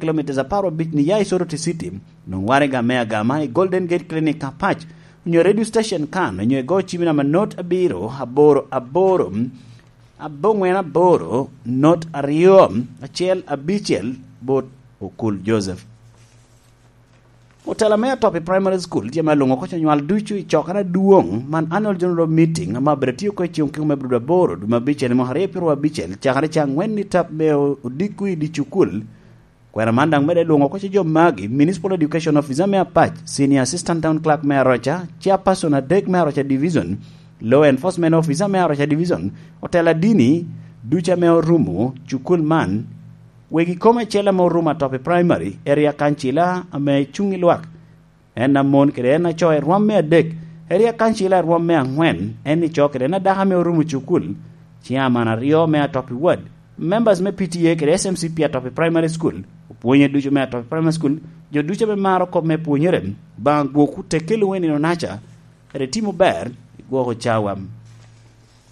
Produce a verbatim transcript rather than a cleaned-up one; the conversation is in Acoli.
Kilometers apar abic ni ya i Soroti City, nong waraga me agama i Golden Gate Clinic Apac onyo radio station kan onyo igo cim namba not abiro aboro aboro abongwen aboro not aryo acel abicel bot Okul Joseph. Otela me Atopi Primary School tye me lungo koco nywal ducu i cokere adwong man Annual General Meeting ma obedo tye ko cung ki me bedo aboro dwe ma abicel mwaka aryo pyeraryo abicel cakere ca angwen ni tap me odiko i di cukul. Kwena man dang mede lwongo koco jo magi Municipal Education Officer me Apac, Senior Assistant Town Clerk me Aroca, Chairperson adek me Aroca Division, Law Enforcement Officer me Aroca Division, Otela dini duca me orumo cukul man, wegi kom acel ame orumo Atopi Primary, Area Kancila ame cung i lwak, en amon kede en aco i rwom me adek, Area Kancila i rwom me angwen, en ico kede en adaka me orumo cukul, Chairman aryo me Atopi Ward, Members me P T A kede S M C P Atopi Primary School, opwonye ducu me Atopi Primary School, jo ducu me maro kop me pwonyere, bang gwok tekelo weni no nacha, ere timo ber, gwoko cawa